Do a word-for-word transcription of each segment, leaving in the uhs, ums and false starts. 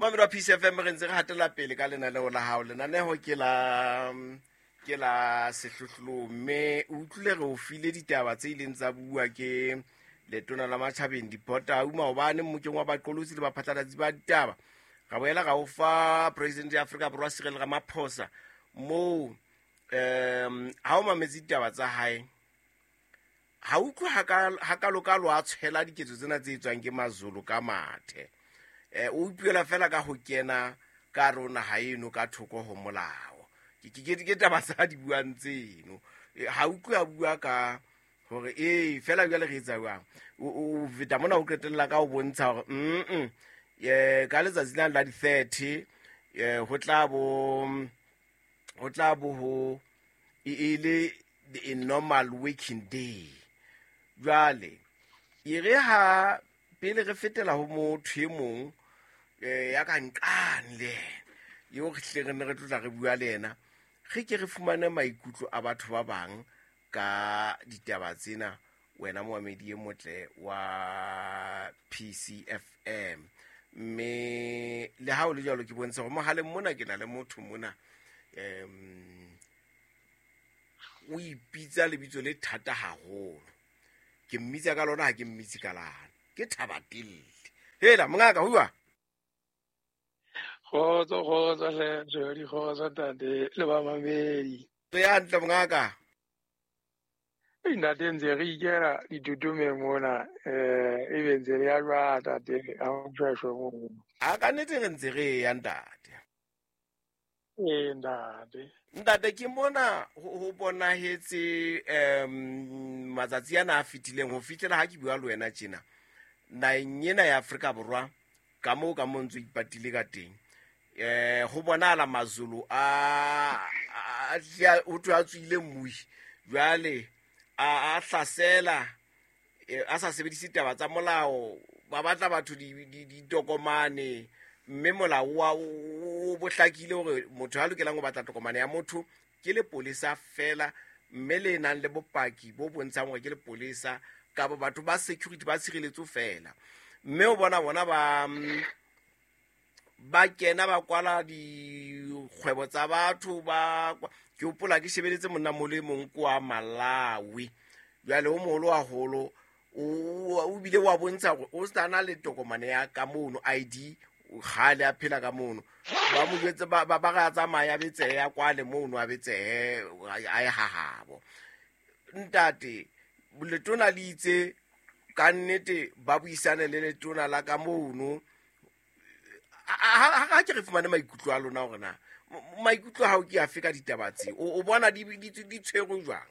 Mamedi wa P C F M, re ntse re hatela pele ka lenaneo la hao. Lenaneo ke la ke la sehlohlolong, mme o utlwile re o file ditaba tse ileng tsa bua ke letona la matjhabeng Dipota maobane mmokeng wa baqolotsi le baphatlalatsi ba ditaba. Ra boela ra o fa president ya Afrika Borwa Cyril Ramaphosa moo um ha o mametse ditaba tsa hae, ha utlwe hakalokalo a tshwela diketso tsena tse etswang ke Mazulu ka mathe. Eh o ipuela fela ka ho kena ka rona ha eno ka thoko ho molao. Ke ke ke taba tsa di buang tseno. Ha utlwe a bua ka hore eh fela jwale re etsa jwang. O feta mona o qetella ka ho bontsha hore mm eh ka letsatsi la la di thirty eh ho tla bo ho tla bo ho e le a normal working day. Jwale e re ha pele re fetela ho motho e mong eh ya ka nqane le eo re tle re ne re tlotla re bua le yena, re ke re fumane maikutlo a batho ba bang ka ditaba tsena. Wena moamedi e motle wa P C F M, mme le ha o le jwalo ke bontsha hore mohaleng mona ke na le motho mona um o ipitsa lebitso le thata haholo. Ke mmitsa ka lona, ha ke mmitse ka lana. Ke Thabatelle. Hela mongaka ho bua. Kgotso, kgotso hle, Jody, kgotso ntate le ba mamedi. Re ya hantle mongaka. Ei, ntate ntse re ikela ditutumeng mona, eh ebe ntse re ya jwang ntate, ha o ntshweshwe moo. A ka nnete re ntse re ya ntate. Ee ntate. Ntate ke mona ho bonahetse um matsatsi ana a fetileng ho fihlela ha ke bua le wena tjena. Naheng ena ya Afrika Borwa ka moo ka moo ntse ipatile ka teng. Eh ho bonahala Mazulu a a ho thwe a tswile mmui. Jwale a a hlasela a sa sebedise taba tsa molao, ba batla batho di ditokomane, mme molao wa o bohlakile hore motho a lokelang ho batla tokomane ya motho ke lepolesa fela, mme le nang le bopaki bo bontshang hore ke lepolesa kapa batho ba security ba tshireletso fela. Mme o bona bona ba ba kena ba kwala dikgwebo tsa batho ba ke hopola ke shebeletse monna mole mong kwa Malawi. Jwale o moholo haholo o bile wa bontsha hore o sa na le tokomane ya ka mono I D kgale a phela ka mono. Ba mo jwetse ba ba ra tsamaya betsehe ya kwale mono a betsehe a e hahabo. Ntate letona le itse ka nnete ba buisane le letona la ka mono. Ha ke re fumane maikutlo a lona hore na maikutlo ha o ke afe ka ditaba tse o bona di di tshwerwe jwang?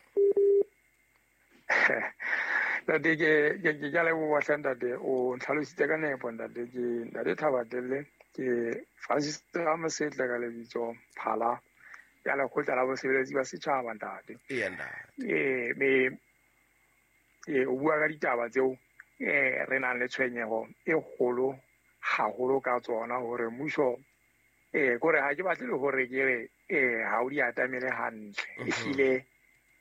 Ntate ke ke ke a leboha hle ntate, o ntlhalositse ka nepo ntate. Ke ntate Thabatelle, ke Francis Ramosetle ka lebitso, Phala ya lekgotla la bosebeletsi ba setjhaba ntate. Ee ntate. Ee me ee o bua ka ditaba tseo eh re nang le tshwenyeho e kgolo haholo ka tsona hore mmuso eh kore ha ke batle le hore ke re eh ha o di atamele hantle, ehlile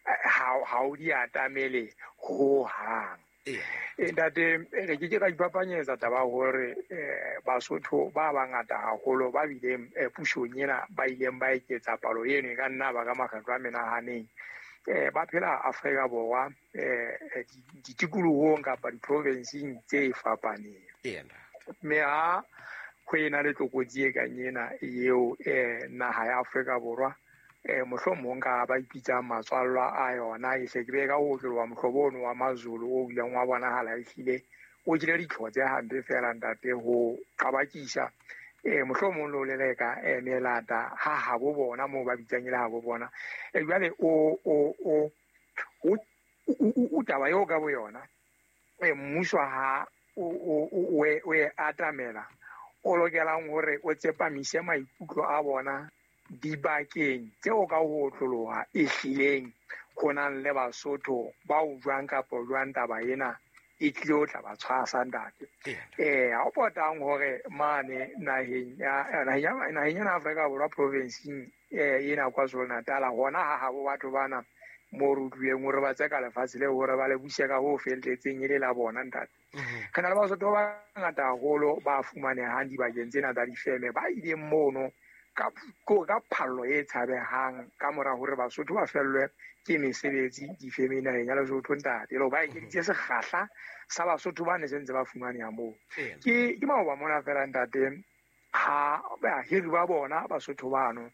ha ha o di atamele ho hang. Eh ntate re ke ke ra ipapanyetsa taba hore eh Basotho ba bangata haholo ba bileng pusong ena ba ileng ba eketsa palo eno e ka nna ba ka makgetlo a menahaneng eh ba phela Afrika Borwa eh ditikolohong kapa diprovinseng tse fapaneng. Mme ha ho ena le tlokotsi e kang ena eo eh naha ya Afrika Borwa eh mohlomong ka ba ipitsang matswallwa a yona e hle ke be ka ho otloloha mohlobo ono wa Mazulu o bileng wa bonahala ehlile o jele ditlho tse hampe fela ntate ho qabakisa eh mohlomong lo leleka eh melata ha ha bo bona moo ba bitsang ile ha bo bona. Eh jwale o o o o taba eo ka bo yona eh mmuso ha o o o o e atamela o lokelang hore o tsepamise maikutlo a bona dibakeng tseo ka ho otloloha ehlileng ho nang le Basotho ba o jwang kapa jwang taba ena e tlile ho tla ba tshwasa ntate. Eh ha o potang hore mane naheng ya naheng ya naheng ya Afrika Borwa provinseng eh ena KwaZulu-Natal hona ha habo batho bana Mo re utlwileng hore ba tseka lefatshe leo hore ba le buse ka ho felletseng e le la bona ntate. Re na le Basotho ba bangata haholo ba fumanehang dibakeng tsena tsa difeme ba ileng mono ka ka phallo e tshabehang ka mora hore Basotho ba fellwe ke mesebetsi difemeng naheng ya Lesotho ntate. Le ba ekeditse sekgahla sa Basotho ba ne se ntse ba fumaneha moo. Ke ke maoba mona fela ntate ha bahiri ba bona Basotho bano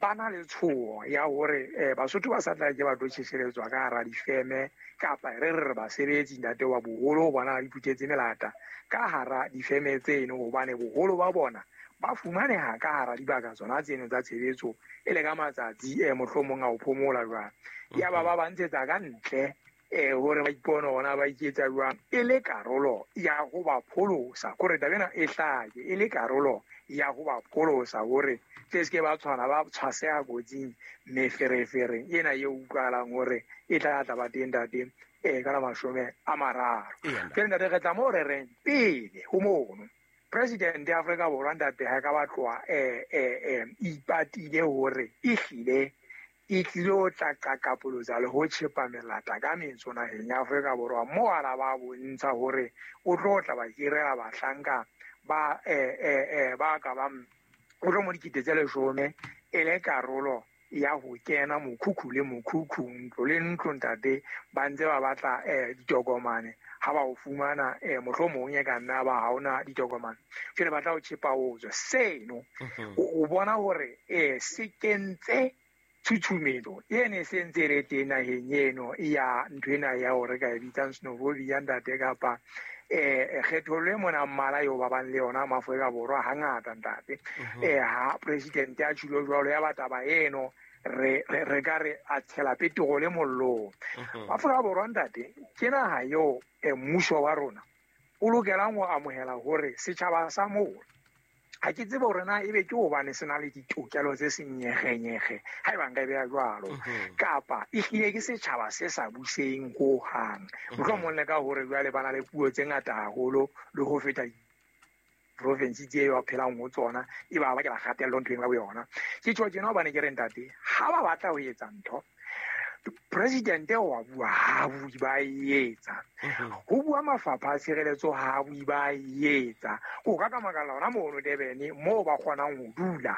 ba na le tshoho ya hore eh Basotho ba sa tla ke ba tlo tjheseletswa ka hara difeme kapa re re re basebetsi ntate wa boholo bona di phuthetse melata ka hara difeme tseno hobane boholo ba bona ba fumaneha ka hara dibaka tsona tseno tsa tshebetso e le ka matsatsi eh mohlomong a ho phomola jwang. Ya ba ba ba ntshetsa ka ntle eh hore ba ipone hona ba iketsa jwang e le karolo ya ho ba pholosa kore taba ena e hlake e le karolo ya ho ba pholosa hore tle se ke ba tshwana ba tshwaseha kotsing meferefereng ena e utlwahalang hore e tla tla ba teng ntate eh ka la mashome a mararo. Ke ntate re tla mo re reng pele ho mono President ya Afrika Borwa ntate ha ka batloa eh eh ipatile hore e hlile e tlilo tla qaqapolotsa le ho tjhepa melata ka metso naheng ya Afrika Borwa mo ara ba bontsha hore o tlo tla ba hirela bahlanka ba eh eh eh ba ka ba o tlo mo dikete tse leshome e le karolo ya ho kena mokhukhu le mokhukhu ntlo le ntlo ntate ba ntse ba batla eh ditokomane ha ba o fumana eh mohlomong e ka nna ba ha ona ditokomane jwale ba tla o tjhepa o tswe seno o bona hore eh se kentse tshutshumetso e ne se ntse re teng naheng eno ya ntho ena ya hore ka e bitsang xenophobia ntate kapa eh kgethollo e mona mmala eo ba bang le yona Maafrika Borwa hangata ntate. Eh ha president ya tjhulo jwalo ya bataba eno re re ka re a tshela petrole mollong. Afrika Borwa ntate ke naha eo mmuso wa rona o lokelang ho amohela hore setjhaba sa moo ha ke tsebe hore na ebe ke hobane se na le ditokelo tse senyegenyege ha eba nka e beha jwalo kapa e hlile ke setjhaba se sa buseng hohang mohlomong le ka hore jwale ba na le puo tse ngata haholo le ho feta province tse ba phelang ho tsona e ba bakela kgatello nthweng ya boyona. Ke tjho tjena hobane ke re ntate ha ba batla ho etsa ntho president wa bua ha bui ba etsa ho bua mafapha a tshireletso ha bui ba etsa o ka ka makala hona mono Durban moo ba kgonang ho dula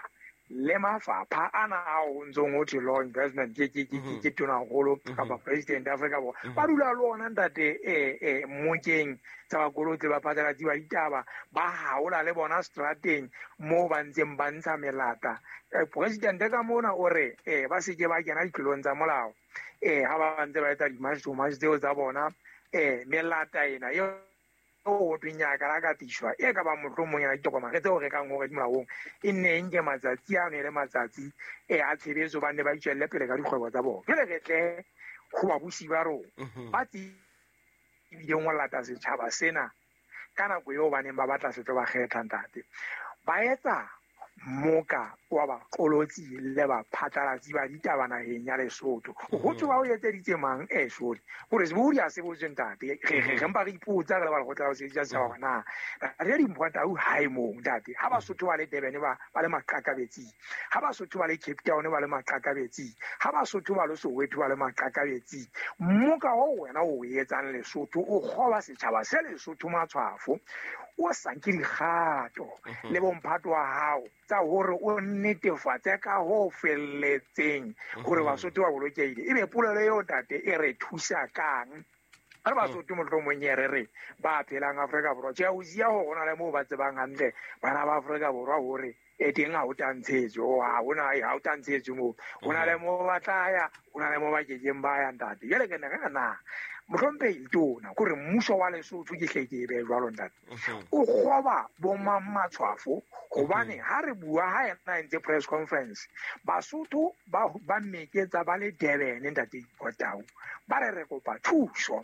le mafapha ana a o ntsong ho thwe law investment ke ke ke ke tonaholo kapa president Afrika Borwa ba dula le ona ntate eh eh mokeng tsa bakolotsi ba phatlalatsi ba ditaba ba haola le bona strateng moo ba ntseng ba ntsha melata. President ka mona o re eh ba se ke ba kena ditlolong tsa molao eh ha ba ntse ba etsa di-march to march tseo tsa bona eh melata ena eo o tweng ya ka la katiswa e ka ba mohlomong ya ditokomane tseo re kang hore di molaong e nne nke matsatsi ano e le matsatsi e a tshebetso ba nne ba itswelle pele ka dikgwebo tsa bona. Jwale re tle ho babusi ba rona ba tsebileng ho lata setjhaba sena ka nako eo ba neng ba batla se tlo ba kgetha ntate ba etsa moka wa baqolotsi le baphatlalatsi ba ditaba naheng ya Lesotho. Ho tswa o etseditse mang eh shole hore sebohodi a se botswe ntate re re re mpa re ipotsa re le ba lekgotla la ho sebedisa setjhaba hore na re dimpho tau hae moo ntate ha Basotho ba le Durban ba ba le maqakabetsing ha Basotho ba le Cape Town ba le maqakabetsing ha Basotho ba le Soweto ba le maqakabetsing moka o wena o etsang Lesotho o kgoba setjhaba se Lesotho matshwafo o sa nke dikgato le bomphato wa hao tsa hore o netefatse ka ho felletseng hore Basotho ba bolokehile. Ebe polelo eo ntate e re thusa kang re Basotho mohlomong e re re ba phelang Afrika Borwa tjhe o siya hore ho na le moo ba tsebang hantle bana ba Afrika Borwa hore e teng ha o tantshetswe ha hona ha o tantshetswe moo ho na le moo ba tla ya ho na le moo ba kekeng ba ya ntate. Jwale ke ne re na mohlomphehi tona kore mmuso wa Lesotho ke hle ke e behe jwalo ntate o kgoba bo mang matshwafo hobane ha re bua ha yena entse press conference Basotho ba ba meketsa ba le Durban ntate Kotau ba re re kopa thuso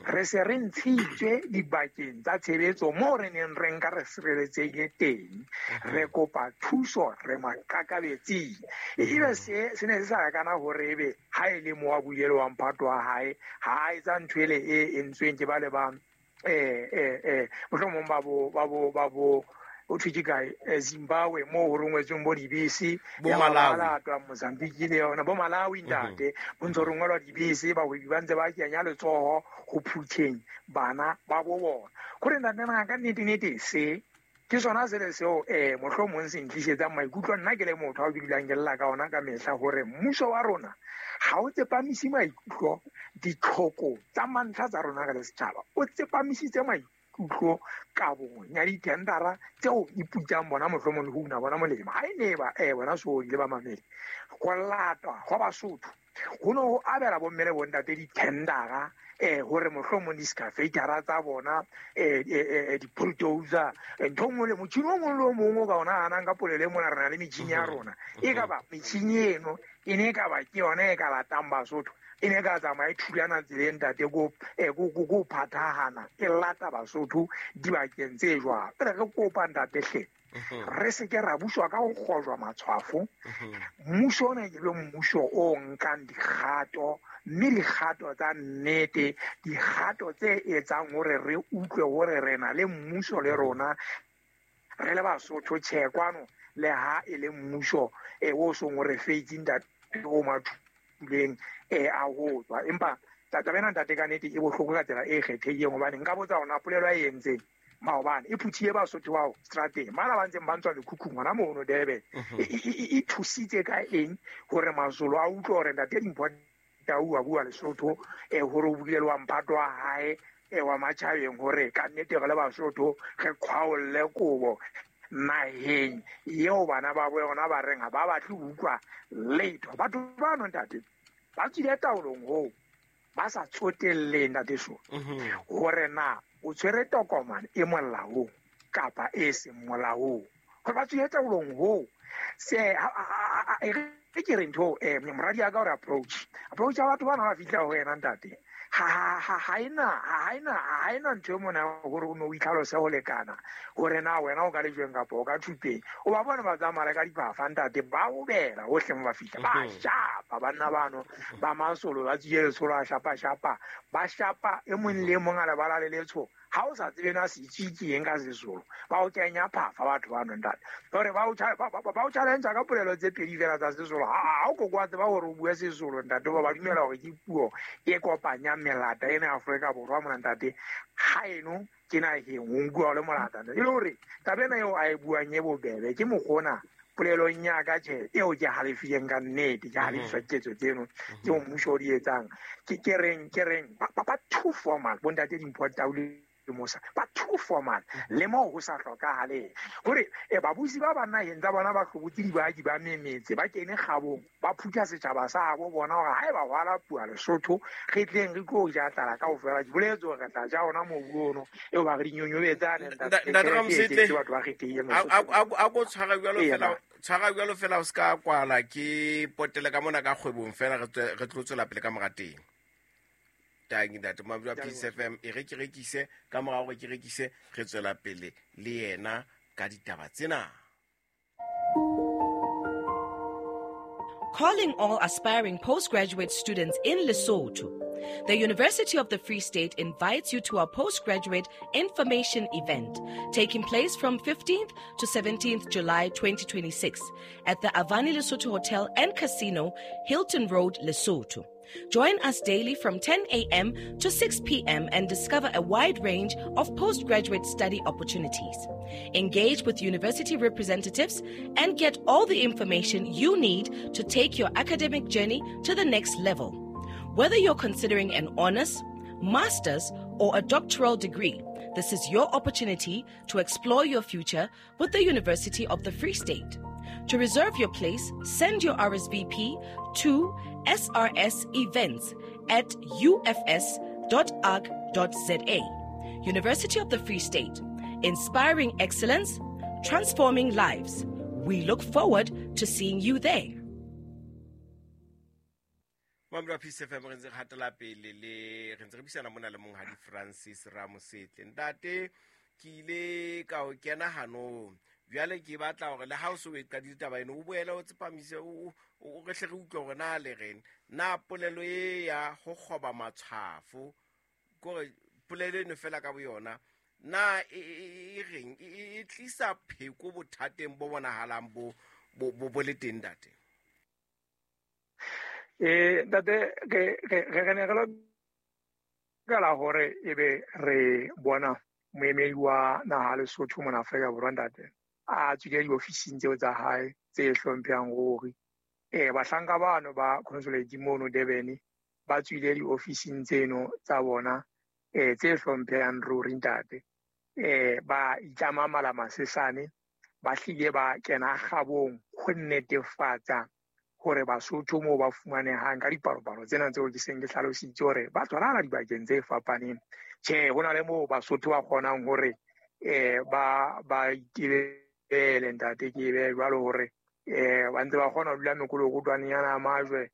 re se re ntshitswe dibakeng tsa tshebetso moo re neng re nka re sireletsehile teng re kopa thuso re maqakabetsing ebe se se ne se sa kana hore ebe ha e le mo wa buile wa mphato wa hae ha etsa ntho ele e entsweng ke ba le ba eh eh eh mohlomong ba bo ba bo ba bo o thwe ke kae Zimbabwe mo ho rongwetsweng bo dibese bo Malawi twa Mozambique le yona bo Malawi ntate bo ntse rongwelwa dibese bahwebi ba ntse ba kenya letsoho ho phutheng bana ba bo bona kore ntate na ka nnete nnete se ke sona se le seo eh mohlomong se ntlisetsang maikutlo nna ke le motho a ke dulang ke lla ka ona ka mehla hore mmuso wa rona ha o tsepamise maikutlo ditlhoko tsa mantlha tsa rona ka le setjhaba o tsepamisitse maikutlo ka bong ya ditendara tseo iputsang bona mohlomong le ho una bona molemo ha e ne ba eh bona so ile ba mamele go latwa go Basotho ho no ho abela bomme le bontate ditendara eh hore mohlomong di-scafetara tsa bona eh eh di-bulldozer ntho nngwe le motjhini o mong le o mong o ka ona hanang ka polelo e mona re na le metjhini ya rona e ka ba metjhini eno e ne e ka ba ke yona e ka latang Basotho e ne e ka tsamaya e thulana tseleng ntate ko ko phathahana e lata Basotho dibakeng tse jwalo. Re re kopa ntate hle re se ke ra buswa ka ho kgojwa matshwafo. Mmuso ona ke be mmuso o nkang dikgato mme dikgato tsa nnete dikgato tse etsang hore re utlwe hore re na le mmuso le rona re le Basotho tjhe kwano le ha e le mmuso e o song o re feitse ntate o mathuleng e a ho tswa empa taba ena ntate ka nnete e bohloko ka tsela e kgethehileng hobane nka botsa hona polelo a e entseng maobane e phuthile Basotho bao strateng mala ba ntseng ba ntswa mekhukhung hona mono Durban e thusitse ka eng hore Mazulu a utlwe hore ntate Dimpho Tau a bua Lesotho e hore o buile le wa mphato wa hae e wa matjhabeng hore ka nnete re le Basotho re qhwaolle kobo naheng eo bana ba bo yona ba reng ha ba batle ho utlwa letho. Batho bano ntate ba tswile taolong hoo ba sa tsotelleng ntate so hore na o tshwere tokomane e molaong kapa e seng molaong hore ba tswile taolong hoo se e re ke re ntho eh moradi ya ka hore approach approach ya batho bana ba fihla ho wena ntate ha ha ha ena ha ena ha ena ntho e mona hore o no o itlhalose ho lekana hore na wena o ka lejweng kapa o ka thupeng o ba bona ba tsamaya ka diphafa ntate ba obela hohle mo ba fihla ba shapa banna bano ba Masolo ba tswile letsholo a shapa shapa ba shapa e mong le mong a lebala le letsho ha o sa tsebe na se itse ke eng ka Sesolo ba o kenya phafa batho bano ntate hore ba o ba o challenge ka polelo tse pedi fela tsa Sesolo ha o ko kwa tseba hore o bue Sesolo ntate ba ba dumela hore ke puo e kopanya melata ena Afrika Borwa mona ntate ha eno ke naheng o nkuwa le molata e le hore taba ena eo a e buang e bobebe ke mokgona polelong ya ka tjhe eo ke halefileng ka nnete ke halefiswa ketso tseno tseo mmuso o di etsang ke ke reng ke reng ba ba too formal bontate Dimpho Tau le Mosa ba too formal le moo ho sa hlokahaleng hore e babusi ba ba naheng tsa bona ba hlobotse dibaki ba memetse ba kene kgabong ba phutha setjhaba sa bo bona hore haeba ho ala puo Lesotho re tleng re tlo ja tlala kaofela ke boletse hore re tla ja ona mobu ono eo ba re dinyonyobetsane ntate Ramosetle batho ba kgethehileng a ko tshwara jwalo fela tshwara jwalo fela o ska kwala ke potele ka mona ka kgwebong fela re tlo tswela pele ka mora teng. Tangi ntate Mabula Peace F M e re ke rekise ka mora hore ke rekise re tswela pele le yena ka ditaba tsena. Calling all aspiring postgraduate students in Lesotho. The University of the Free State invites you to our postgraduate information event taking place from fifteenth to seventeenth July twenty twenty-six at the Avani Lesotho Hotel and Casino, Hilton Road, Lesotho. Join us daily from ten a.m. to six p.m. and discover a wide range of postgraduate study opportunities. Engage with university representatives and get all the information you need to take your academic journey to the next level. Whether you're considering an honors, master's, or a doctoral degree, this is your opportunity to explore your future with the University of the Free State. To reserve your place, send your R S V P to S R S events at U F S dot org dot Z A. University of the Free State, inspiring excellence, transforming lives. We look forward to seeing you there. Mamla Peace F M re ntse re hatela pele le re ntse re buisana mona le monghadi Francis Ramosetle. Ntate ke ile ka o kena hanong jwale ke batla hore le ha o so e qadile taba eno o boele o tsepamise o o re hle re utlwe hore na le reng na polelo e ya ho kgoba matshwafo kore polelo eno fela ka boyona na e reng e e tlisa pheko bothateng bo bonahalang bo bo bo le teng ntate? Eh ntate re re re ne re lokela hore ebe re bona moemedi wa naha Lesotho mona Afrika Borwa ntate a tswile diofising tseo tsa hae tse hlomphehang ruri. Eh bahlanka bano ba consulate mono Durban ba tswile diofising tseno tsa bona eh tse hlomphehang ruri ntate. Eh ba itlama mala masesane ba hlile ba kena kgabong ho netefatsa hore Basotho moo ba fumanehang ka dipalopalo tsena tseo ke seng ke hlalositse hore ba tshwarana dibakeng tse fapaneng. Tjhe, ho na le moo Basotho ba kgonang hore eh ba ba itebele ntate ke be jwalo hore eh ba ntse ba kgona ho dula mekolokotwaneng ya majwe.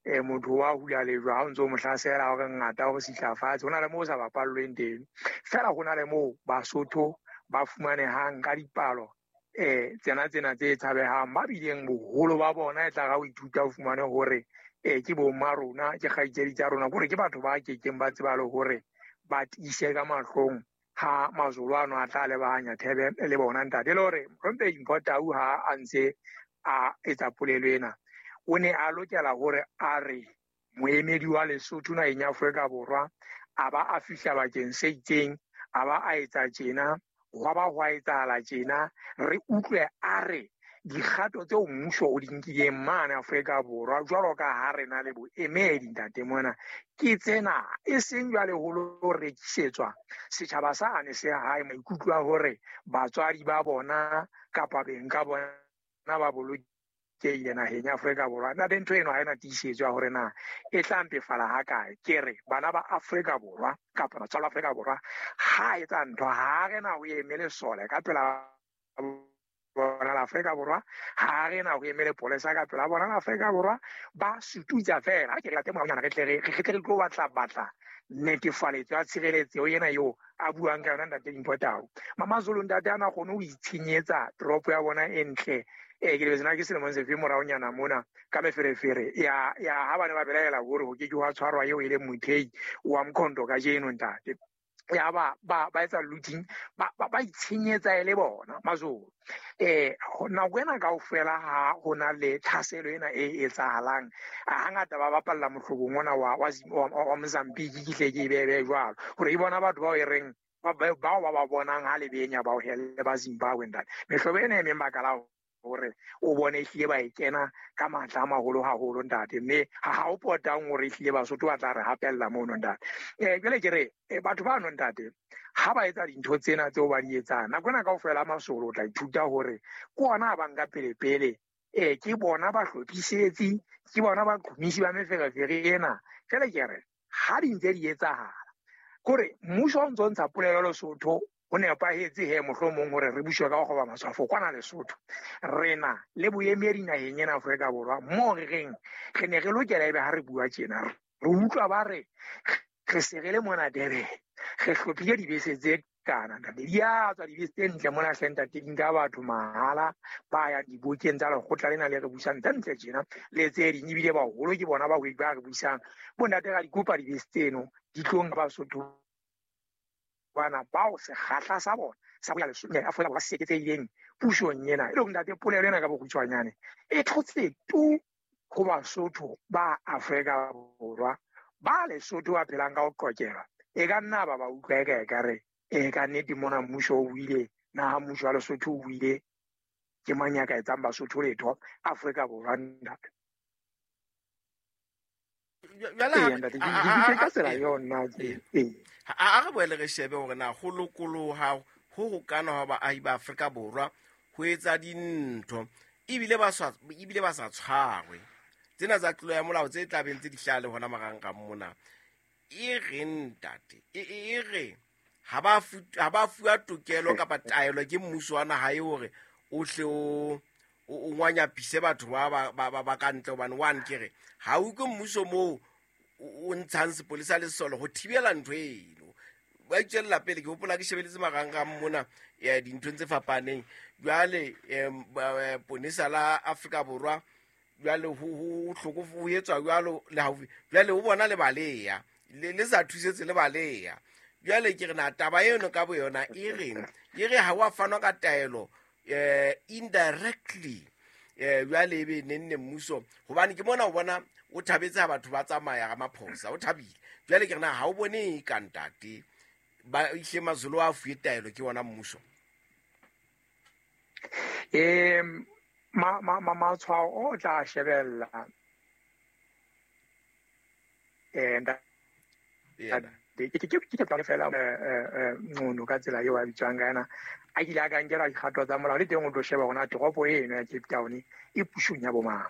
Eh motho wa hula lejwe ha o ntso mo hlasela hore ngata hore sihlafatse. Ho na le moo sa bapallweng teng fela, ho na le moo Basotho ba fumanehang ka dipalo eh tsena tsena tse tshabehang, ba bileng boholo ba bona e tla ga o ithuta o fumane hore eh ke bo mma rona, ke kgaitsedi tsa rona, hore ke batho ba kekeng ba tseba le hore ba tiise ka mahlong ha Mazulu ano a tla lebahanya thebe le bona ntate. Le hore Mohlomphehi Mpho Tau ha a ntse a etsa polelo ena, o ne a lokela hore a re moemedi wa Lesotho naheng ya Afrika Borwa a ba a fihla bakeng se itseng, a ba a etsa tjena, hwa ba hwa etsahala tjena, re utlwe a re dikgato tseo mmuso o di nkileng mane Afrika Borwa jwalo ka ha re na le boemedi ntate mona ke tsena, e seng jwale ho lo rekisetswa setjhaba sane se hae maikutlo a hore batswadi ba bona kapa beng ka bona ba bolokehile naheng ya Afrika Borwa. Ntate, ntho eno ha ena tiisetso ya hore na e tla mpefala ha kae. Ke re bana ba Afrika Borwa kapa batswadi ba Afrika Borwa ha etsa ntho, ha re na ho eme lesole ka pela bona la Afrika Borwa, ha re na ho eme lepolesa ka pela bona la Afrika Borwa, ba sututsa fela. Ha ke re late moraonyana re tle re re tle re tlo batla batla netefaletso ya tshireletso ena eo a buang ka yona ntate Mpho Tau. Mamazulu ntate ana kgone ho itshenyetsa toropo ya bona e ntle. Eh ke lebetse na ke selemong sefe moraonyana mona ka meferefere ya ya ha bane ba belaela hore ho ke ke hwa tshwarwa eo e leng mothei wa Mkhonto kajeno ntate. Ya ba ba ba etsa looting, ba ba itshenyetsa ele bona Mazulu. Eh nako ena kaofela ha ho na le tlhaselo ena e etsahalang, hangata ba bapalla mohlobong ona wa wa wa Mozambique, ke hle ke e bebe jwalo hore e bona batho bao e reng bao ba ba bonang ha le benya bao hele ba Zimbabwe ntate. Mehlobo ena e meng baka la hore o bone ehlile ba e kena ka matla a maholo haholo ntate, mme ha ha o potang hore ehlile Basotho ba tla re hapella mono ntate. Eh jwale ke re batho ba no ntate ha ba etsa dintho tsena tseo ba di etsang nako ena kaofela Masolo o tla ithuta hore ke ona ba nka pele pele, eh ke bona ba hlophisetsi, ke bona ba qhomisi ba meferefere ena. Jwale ke re ha di ntse di etsahala kore mmuso o ntso ntsha polelo Lesotho ho nepahetse he mohlomong hore re buswe ka ho kgoba matshwafo kwana Lesotho. Re na le boemedi naheng ena Afrika Borwa moo re reng re ne re lokela ebe ha re bua tjena re utlwa ba re re se re le mona Durban, re hlophile dibese tse kana ntate, di a tswa dibese tse ntle mona hle ntate, di nka batho mahala ba ya dibokeng tsa lekgotla lena le re busang tse ntle tjena le tse ding, ebile baholo ke bona bahwebi ba re busang. Bontate ra di kopa dibese tseno di tlo nka Basotho bana bao sekgahla sa bona sa ho ya Lesotho Afrika Borwa se eketsehileng pusong ena. E le hore ntate polelo ena ka bokgutshwanyane e thotse tu ho Basotho ba Afrika Borwa ba Lesotho ba phelang ka ho qokelwa. E ka nna ba ba utlwa eka ekare e ka nnete mona mmuso o buile, naha mmuso wa Lesotho o buile, ke mang ya ka etsang Basotho letho Afrika Borwa ntate? A re boele re shebe hore na ho lokoloha ho hokana hwa baahi ba Afrika Borwa ho etsa dintho ebile ba sa ebile ba sa tshwarwe tsena tsa tlolo ya molao tse tlabeng tse di hlaha le hona marangrang mona. E re ntate e re ha ba ha ba fuwa tokelo kapa taelo ke mmuso wa naha e hore o hle o o ngwanyapise batho ba ba ba ka ntle, hobane one ke re ha o utlwe mmuso moo o ntshang sepolesa le sesole ho thibela ntho eno. Ba itswella pele, ke hopola ke shebeletse marangrang mona ya dinthong tse fapaneng. Jwale ponesa la Afrika Borwa jwale ho ho hloko ho etswa jwalo le haufi, jwale ho bona le baleya le le sa thusetse le baleya. Jwale ke re na taba eno ka boyona e reng E re ha wa fanwa ka taelo eh indirectly eh jwale ebe nenne mmuso hobane ke mona o bona o thabetse ha batho ba tsamaya ga maphosa o thabile jwale ke rena ha o bone ka ntate ba ihle Mazulu a fuwe taelo ke wona mmuso eh ma ma ma matshwao o tla shebella eh ke ke ke ke tla fela eh ngono ka tsela eo a bitswang ka yena a ile a ka nkela dikgato tsa molao le teng o tlo sheba hona toropo eno ya Cape Town e pusong ya bomang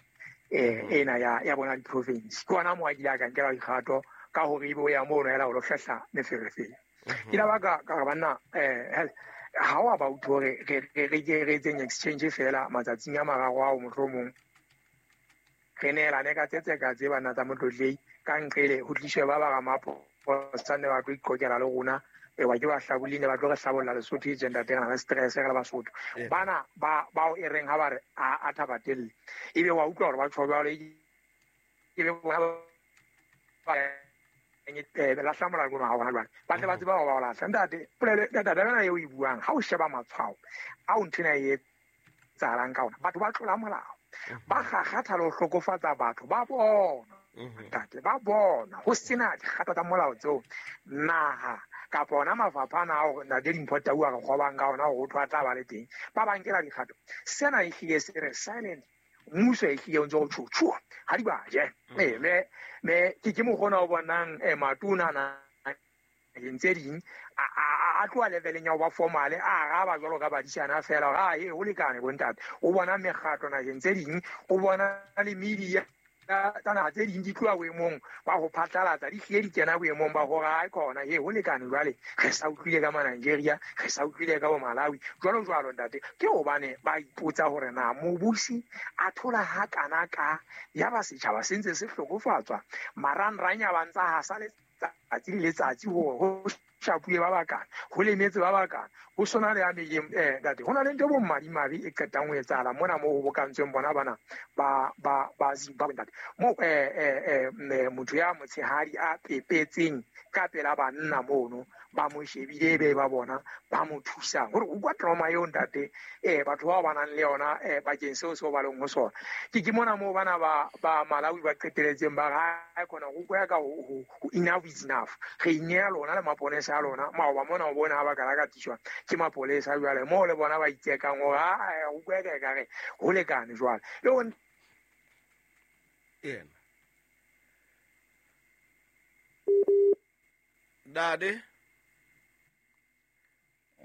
eh ena ya ya bona di-province ke ona mo a ile a ka nkela dikgato ka hore ebe o ya mono hela o lo hlahla meferefere ke la baka ka banna eh ha wa ba utlwe hore re re re re etseng exchange fela matsatsing a mararo ao mohlomong re neelane ka tsetse ka tse bana tsa motlotlei ka nqele ho tliswe ba ba ramapo sa ne ba tlo iqokela le rona e wa ke ba hlabolile ba tlo re hlabolla Lesotho e gender teng na stress re le Basotho bana ba bao e reng ha ba re a thabatelle ebe wa utlwa hore ba tjho jwalo e be bona ba e la hlamola rona ha hona jwale ba tle ba tseba hore ba lahla ntate polelo ntate bana eo e buang ha o sheba matshwao a o nthena e etsahalang ka ona batho ba tlola molao ba kgakgatha le ho hlokofatsa batho ba bona ntate ba bona ho sena dikgato tsa molao tseo naha kapa ona mafapha ana ao ntate Dimpho Tau a re kgobang ka ona hore ho thwa tla ba le teng ba ba nkela dikgato sena e hlile se re silent mmuso e hlile o ntse o tjho ha di ba je eh me me ke ke mokgona o bonang eh matona na tse ding a tloha leveleng ya ho ba formal a araba jwalo ka badisana fela hore a e ho lekane bontate o bona mekgatlo naheng tse ding o bona le media tsa naha tse ding di tloha boemong ba ho phatlalatsa di hlile di kena boemong ba hore ha khona he ho lekane jwale re sa utlwile ka ma-Nigeria re sa utlwile ka bo Malawi jwalo jwalo ntate ke hobane ba ipotsa hore na mobusi a thola ha kana ka ya ba setjhaba se ntse se hlokofatswa marangrang a ba ntsa hasa letsatsi le letsatsi hore ho shapuwe ba bakana ho lemetse ba bakana ho sona le ya meleng eh ntate hona le ntho bo madimabe e qetang ho etsahala mona moo ho bokantsweng bona bana ba ba ba Zimbabwe ntate mo eh eh eh motho ya motshehadi a pepetseng ka pela banna mono ba mo shebile be ba bona ba mo thusang hore o kwa trauma eo ntate eh batho ba ba nang le yona eh bakeng seo seo ba leng ho sona ke ke mona moo bana ba ba Malawi ba qeteletseng ba ha khona go kwa ka ho enough is enough re ineela lona le maponesa a lona maoba mona o bona ha ba ka ka tiswa ke mapolesa jwale moo le bona ba itsekang hore ha o kwa ka re ho lekane jwale le o yena dade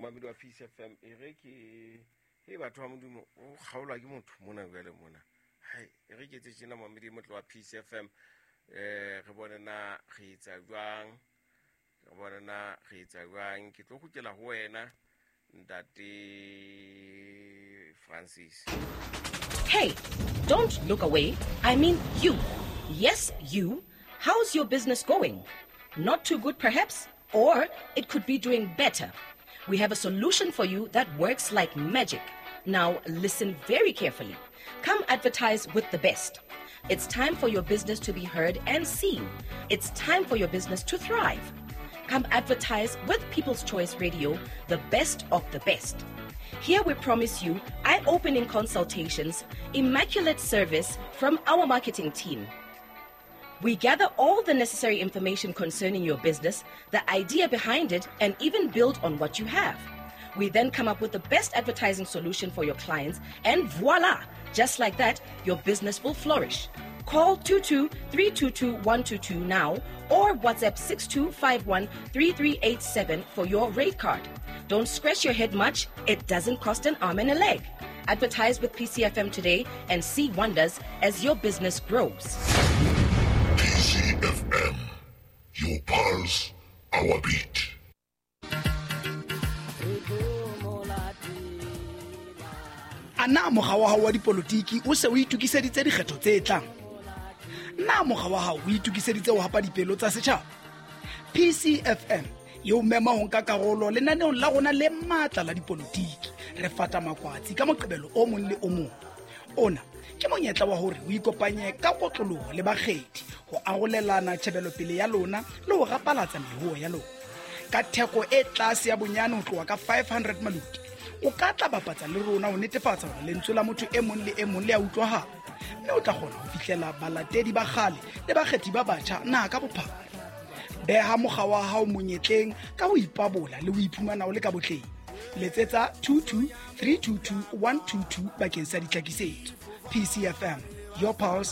mamedi wa Peace F M e re ke he batho ba Modimo o kgaolwa ke motho mona jwale mona hai e re ke tse tjena mamedi motlo wa Peace F M eh re bone na re etsa jwang re bone na re etsa jwang ke tlo kgutlela ho wena ntate Francis. Hey, don't look away. I mean you. Yes, you. How's your business going? Not too good perhaps, or it could be doing better. We have a solution for you that works like magic. Now listen very carefully. Come advertise with the best. It's time for your business to be heard and seen. It's time for your business to thrive. Come advertise with People's Choice Radio, the best of the best. Here we promise you eye-opening consultations, immaculate service from our marketing team. We gather all the necessary information concerning your business, the idea behind it, and even build on what you have. We then come up with the best advertising solution for your clients, and voila! Just like that, your business will flourish. Call two two three two two one two two now or WhatsApp six two five one three three eight seven for your rate card. Don't scratch your head much. It doesn't cost an arm and a leg. Advertise with P C F M today and see wonders as your business grows. P C F M, your pulse, our beat. Ana mokga wa hao wa dipolotiki o se o itokiseditse dikgetho tse tlang? Na mokga wa hao o itokiseditse ho hapa dipelo tsa setjhaba? P C F M e o mema ho nka karolo lenaneong la rona le matla la dipolotiki. Re fata makwatsi ka Moqebelo o mong le o mong. Ona ke monyetla wa hore o ikopanye ka kotloloho le bakgethi ho arolelana tjhebelopele ya lona le ho rapalatsa mehuo ya lona. Ka theko e tlase ya bonyane ho tloha ka five hundred maluti, o ka tla bapatsa le rona ho netefatsa hore lentswe la motho e mong le e mong le a utlwahala, mme o tla kgona ho fihlela balatedi ba kgale le bakgethi ba batjha naha ka bophara. Beha mokga wa hao monyetleng ka ho ipabola le ho iphumana o le ka botleng. Letsetsa two two three two two one two two bakeng sa ditlhakisetso. P C F M, your pulse,